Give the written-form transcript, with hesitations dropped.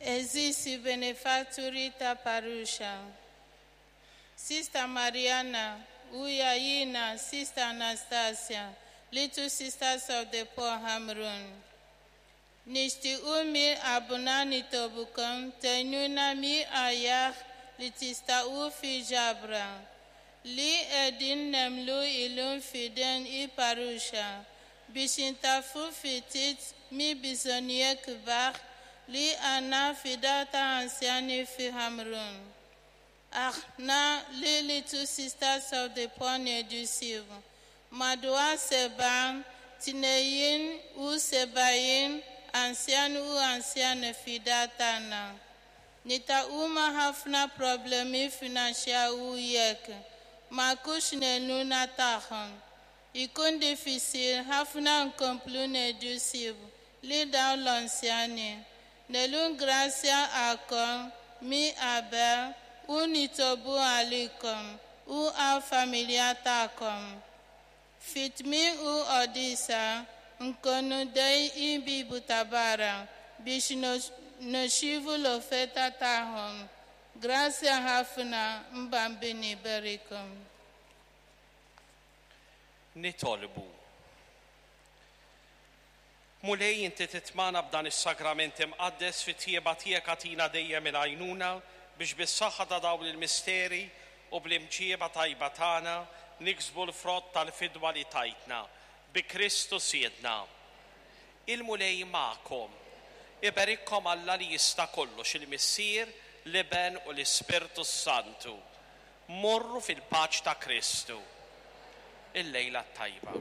Għeżież benefatturi ta' parruċċa. Sister Mariana, Uya Yina, Sister Anastasia, Little Sisters of the Poor Hamrun. Nixtiequ minn qalbna nitolbukom tgħinuna mill-aħjar li tistgħu fil-ġabra li qegħdin nagħmlu illum f'idejn il-parruċċa biex intaffu ftit mill-bżonnijiet kbar li għandna fid-dar tal-anzjani fi Ħamrun. Aħna li Little Sisters of the Poor ngħidu madwar 72 anzjan u anzjana fid-dar tagħna. Niltaqgħu ma' ħafna problemi finanzjarji u jekk ma jkunx l-għajnuna tagħhom. Ikun diffiċli ħafna nkomplu nieħdu ħsieb lil dawn l-anzjani. Nirringrazzjakom minn qabel u nitolbu għalikom u għall-familja tagħkom. Fi tmiem il-quddiesa nkunu ħdejn il-bieb ta' barra biex nirċievu l-offerta tagħhom. Grazzi ħafna il-Bambin iberikkom. Nitolbu. Mulej inti titmagħna b'dan is-sagrament imqaddes fit-tjieba tiegħek agħtina dejjem il-għajnuna biex bis-saħħa ta' dawn il-misteri u bl-imġieba tajba tagħna niksbu l-frott tal-fidwa li tajtna bi Kristu Sidna. Il-Mulej magħkom. Iberikkom Alla li jista' kollox il-Missier, l-Iben u l-Ispirtu Santu. Morru fil-paċi ta' Kristu. Il-lejla tajba.